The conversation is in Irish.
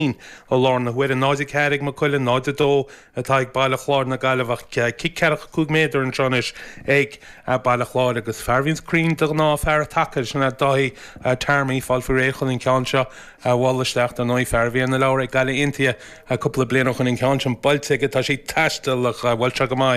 I láthair na huaire, 0-4 ag Maigh Cuilinn, 0-2 atá ag Baile Chláir na Gaillimhe ach cic 45 méadar anseo anois ag Baile Chláir agus fear a bhíonns cruinn de ghnáth, fear taca, sin é Dáithí Tarmy, fáil faoi réir chun an ceann seo a bhualadh isteach. Dar ndóigh, fear a bhí ar na leabhra ag Gaillimh Aontaithe cúpla bliain ó shin, an ceann sin buailte aige, tá sé ag taisteal ach bhuail sé go maith.